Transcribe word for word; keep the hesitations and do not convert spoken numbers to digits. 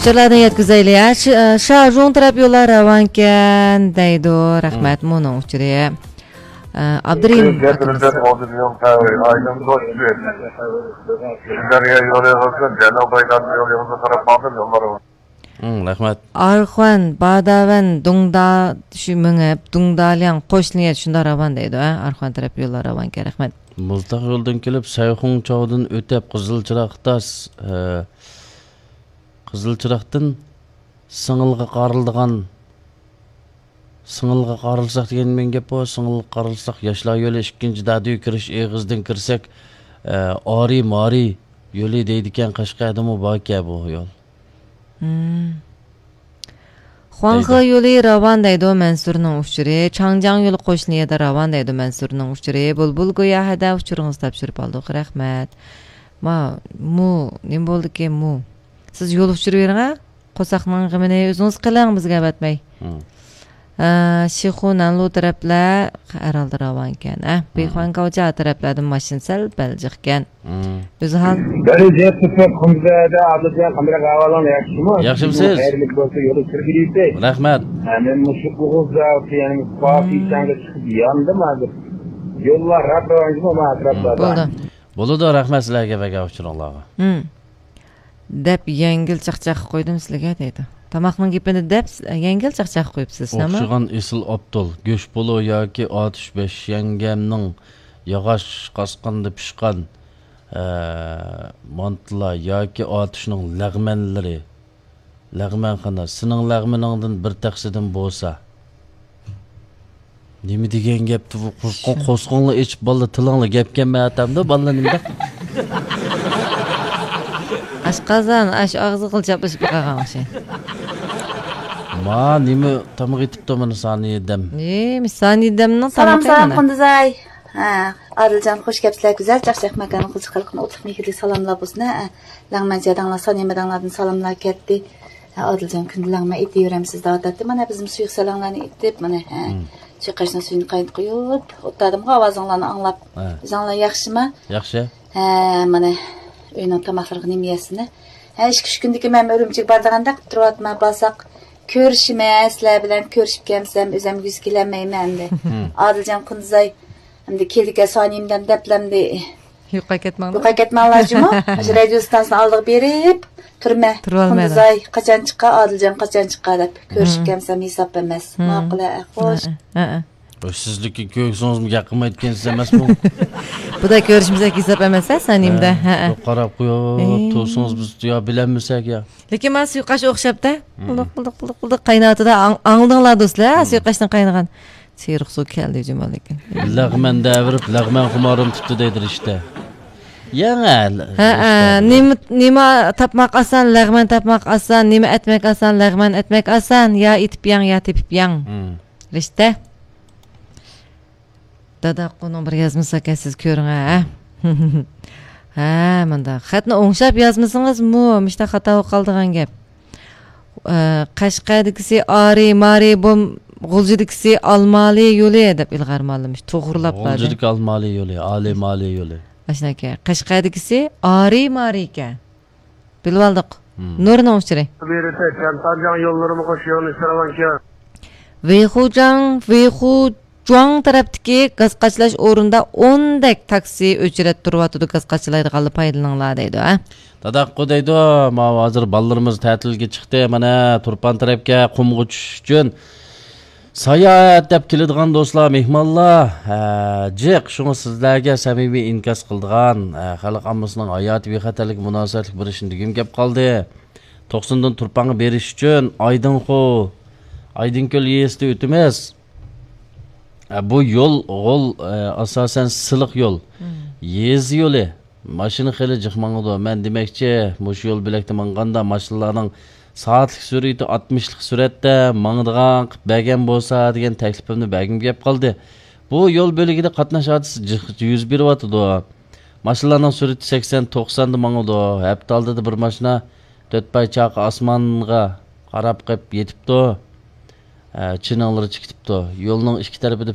ئۇچۇرلاردىن يەتكۈزەيلى. ھە، ش-، شاجۇڭ تەرەپ يوللار راۋانكەن دەيدۇ. رەھمەت، مۇنىڭ ئۇچۇرى. ئە، ئابدۇرېھىم ئاكىمىز. دەريا يولى بولسا جەنۇبىي يولىغا قاراپ باقىدۇ يوللار. ھىم، رەھمەت. ئارخۇەن، باداۋەن، دۇڭدا، شۇ مېڭىپ، دۇڭدالياڭ، قوشنىيەت شۇنداق راۋان دەيدۇ، ھە؟ ئارخۇەن تەرەپ يوللار راۋانكەن، رەھمەت. مۇزتاغ يولىدىن كېلىپ، سەيخۇڭچاۋدىن ئۆتۈپ، قىزىل چىراغ تاس، ھە، قىزىل چىراغدىن سىڭىلغا قارىلىدىغان، سىڭىلغا قارىلساق دېگەن نېمە گەپ بۇ؟ سىڭىلغا قارىلساق، ياشلار يولى ئىككىنچى دادۈي كىرىش ئېغىزىدىن كىرسەك، ئە، ئارى مارى يولى دەيدىكەن، قەشقەردىمۇ باركەن بۇ يول. ھىم. خۇاڭخې دەيدۇ. يولى راۋان دەيدۇ مەنسۇرنىڭ ئۇچۇرى. چاڭجياڭ يولى قوشنىيەدە راۋان دەيدۇ مەنسۇرنىڭ ئۇچۇرى. بۇلبۇل گويا ھەدە ئۇچۇرىڭىزنى تاپشۇرۇپ ئالدۇق. رەھمەت. ما، مۇ، نېمە بولدىكىن مۇ؟ سىز يول ئۇچۇرى بېرىڭ ھە. قورساقنىڭ غېمىنى ئۆزىڭىز قىلىڭ بىزگە ئەۋەتمەي. ھىم. ئە، شىخۇ نەنلۇ تەرەپلەر ھەرھالدا راۋانكەن. ئە، ھىم. بىخۇەنگاۋجا تەرەپلەردىن ماشىنا سەل بەل جىقكەن. ھىم. ئۆزى ھال. بەرى جەپ تۇتۇپ، قۇمزەدە ئادىلجان قانداق ئەھۋالىڭ ياخشىمۇ؟ ياخشىمسىز؟ خەيرلىك بولسا يولى كىرگۈلىيسەي. رەھمەت. ھە، مەن مۇشۇ ئوغۇزدا يەنە مۇشۇ پاكىزچانغا چىقىپ ياندىم ھازىر. يوللار راپ راۋانجىمۇ ماڭا ئەتراپلاردا. بولدى. بولىدۇ، رەھمەت سىلەرگە بەرگەن ئۇچۇرۇڭلارغا. ھىم. دەپ يەڭگىل چاقچاق قويدۇم سىلىگە دەيدۇ. تاماقنىڭ گېپىنى دەپ يەڭگىل چاقچاق قويۇپسىز، ئەمما. ئوخشىغان ئېسىل ئابدۇل، گۆش پولۇ ياكى ئاتۇش بەش يەڭگەمنىڭ ياغاچ قاسقاندا پىشقان، ئە، مانتىلار ياكى ئاتۇشنىڭ لەغمەنلىرى. لەغمەنخانا، سېنىڭ لەغمىنىڭدىن بىر تەخسىدىن بولسا. نېمە دېگەن گەپتى بۇ؟ قورسىقىڭ-، قورسىقىڭلار ئېچىپ، بالىلار تىلىڭلار گەپكەنمەن ئاتامدا، بالىلار نېمە دەپ؟ ئاشقازان، ئاش ئاغزىغىلا چاپلىشىپ قالغان ئوخشايدۇ. ما، نېمە تاماق ئېتىپتۇ مانا سانىيە دەم؟ نېمە سانىيە دەمنىڭ سالام، تامىقى سالام، مانا. قۇندۇزاي. ھە، ئادىلجان، خوش كەپسىلەر، گۈزەل چاقچاق ماكاننىڭ قىزىق خەلقىنى ئوتلۇق مېھىرلىك سالاملار بولسۇن. ھە، لەڭمەن جاداڭلار، سانىيە ماداڭلاردىن سالاملار كەتتى. ھە، ئادىلجان كۈندە لەڭمەن ئېتىۋېرەمسىز دەۋاتاتتى. مانا بىزمۇ سۇيۇق سەلەڭلەرنى ئېتىپ، مانا، ھە، ھىم. سۇيۇقئاشنىڭ سۈيىنى قاينىتىپ قويۇپ ئولتۇردۇمغۇ، ئاۋازىڭلارنى ئاڭلاپ. ھە. ئۆزۈڭلار ياخشىما؟ ياخشى. ھە، مانا ئۆينىڭ تاماقلىرىغا نېمە يەرسىنە؟ ھە، ئىككى ئۈچ كۈندىكى مەن ئۈرۈمچىگە بارىدىغاندەك قىلىپ تۇرۇۋاتىمەن، بارساق كۆرۈشىمەن، سىلەر بىلەن كۆرۈشۈپ كەلمىسەم ئۆزۈم يۈز كېلەلمەيمەن ئەمدى. ھىم. ئادىلجان قۇندىزاي، ئەمدى كېلىدىكەن سانىيەمدەم دەپلەمدى. يوقاپ كەتمەڭلار. يوقاپ كەتمەڭلار جۇمۇ. مۇشۇ رادىيو ئىستانسىسىنىڭ ئالدىغا بېرىپ تۇرىمەن. تۇرۇۋالمايدۇ. قۇندۇزاي، قاچان چىقا، ئادىلجان قاچان چىقا دەپ كۆرۈشۈپ ھىم. كەلمىسەم ھېساب ئەمەس. ھىم. ماقۇل، ھە، خوش. ھە، ھە، ھە. ھوي، سىزلىكى كۆرسىڭىزمۇ گەپ قىلمايدىكەنسىز ئەمەسمۇ؟ بۇدا كۆرۈشمىسەك ھېساب ئەمەس ھە سانىيەمدە. ھە، ھە، ھە. بۇ قاراپ قويۇپ ئى. تۇرسىڭىز بىز يا بىلەلمىسەك يا. لېكىن مانا سۇيۇقئاش ئوخشاپتە. ھىم. بۇلۇق، بۇلۇق، بۇلۇق، بۇلۇق قايناۋاتىدۇ. ئاڭ-، ئاڭلىدىڭلار دوستلار، ھە؟ ھىم. سۇيۇقئاشتىن قاينىغان. سېرىق سۇ كەلدى جۇمۇ لېكىن. لەغمەن دەۋېرىپ، لەغمەن خۇمارىم تۇتتى دەيدۇ رىشتە. يەڭ ھە، ھە، رىشتە ھە، بىلەن. نېمە، نېمە تاپماق ئاسان، لەغمەن تاپماق ئاسان، نېمە ئەتمەك ئاسان، لەغمەن ئەتمەك ئاسان، يا ئېتىپ يەڭ، يا تېپىپ يەڭ. ھىم. رىشتە. داداقۇنىڭ بىر يازمىسى ئىكەن، سىز كۆرۈڭ، ھە. ھە، مۇنداق. خەتنى ئوڭشاپ يازمىسىڭىزمۇ، مۇشۇنداق خاتا بولۇپ قالىدىغان گەپ. ئە، قەشقەردىكىسى ئارى، مارى، بوم، غۇلجىدىكىسى ئالمالى يولى دەپ ئىلغار مالىمىش. توغرىلاپ بار. غۇلجىدىكى ئالمالى يولى، ئالى مالى يولى. ئاشۇنداكەن. قەشقەردىكىسى ئارى، مارى ئىكەن. بىلىۋالدۇق. ھىم. نۇرنىڭ ئۇچۇرى. بېرىسە، چيەنتاجياڭ يوللىرىمۇ خوش يېڭىنىش راۋانكەن. ۋېيخۇجاڭ، ۋېيخۇجۇاڭ تەرەپتىكى گاز قاچىلاش ئورنىدا ئوندەك تاكسى ئۆچرەت تۇرۇۋاتىدۇ، گاز قاچىلايدىغانلار پايدىلىنىڭلار دەيدۇ، ھە. داداققۇ دەيدۇ، ماۋۇ ھازىر بالىلىرىمىز تەتىلگە چىقتى، مانا تۇرپان تەرەپكە قۇمغا چۈشۈش ئۈچۈن. ساياھەت دەپ كېلىدىغان دوستلار، مېھمانلار، ھە، جىق. شۇڭا سىزلەرگە سەمىمىي ئىنكاس قىلىدىغان، ھە، خەلق ئاممىسىنىڭ ھاياتىي بىخەتەرلىكىگە مۇناسىۋەتلىك بىر ئىشنى دېگۈم كەپ قالدى. توقسۇندىن تۇرپانغا بېرىش ئۈچۈن ئايدىڭخۇ، ئايدىڭكۆل يېزىسىدا ئۆتىمىز. ھە، بۇ يول، غول، ھە، ئاساسەن سىلىق يول. مم. يېزا يولى. ماشىنا خېلى جىق ماڭىدۇ. مەن دېمەكچى، مۇشۇ يول بۆلەكتە ماڭغاندا ماشىنىلارنىڭ سائەتلىك سۈرئىتى ئاتمىشلىق سۈرئەتتە ماڭىدىغان قىلىپ بەرگەن بولسا دېگەن تەكلىپىمنى بەرگۈم كەپ قالدى. بۇ يول بۆلىكىدە قاتناش ھادىسىسى جىق يۈز بېرىۋاتىدۇ. ماشىنىلارنىڭ سۈرئىتى سەكسەن، توقساندا ماڭىدۇ. ھەپتە ئالدىدا بىر ماشىنا تۆت پاي چاقى ئاسمانغا قاراپ قېلىپ يېتىپتۇ. ئە، چىنىڭلىرى چىقىتىپتۇ. يولنىڭ ئىككى تەرىپىدە